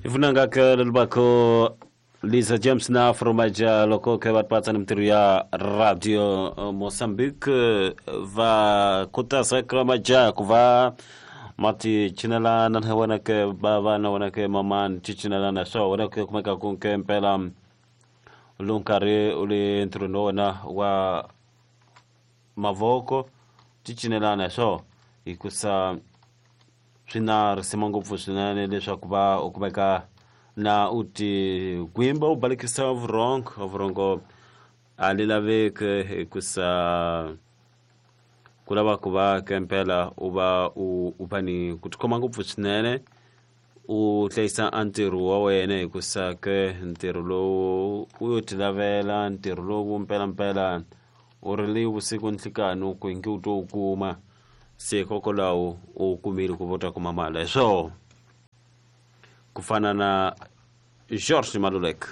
Ifunanga ke lelibakho Lisa James na Fromaja loko ke va patsa ni mintirho ya Radio Mozambique va khutaza ka majaha ku va ma ti cinelana na wena ke bava na wena ke mamani ti cinelana swa wena ke kumeka ku ke mpela lowu nkarhi u le ntirhweni wa wena wa mavoko ti cinelana swo hikusa swi na risima ngopfu swinene leswaku va u kumeka na u ti gwimba u balekisa vurhongo vurhongo a li laveki hikusa ku lava ku va kempela u va u u va ni ku tikhoma ngopfu swinene u hlayisa a ntirho wa wena hikusa ke ntirho lowu u yo ti lavela ntirho lowu mpelampela u ri li vusiku nhlikani ku ingi u to wu kuma se hikokwalaho u kumile ku va u ta kuma mali hi swoho ku fana na George Maluleke.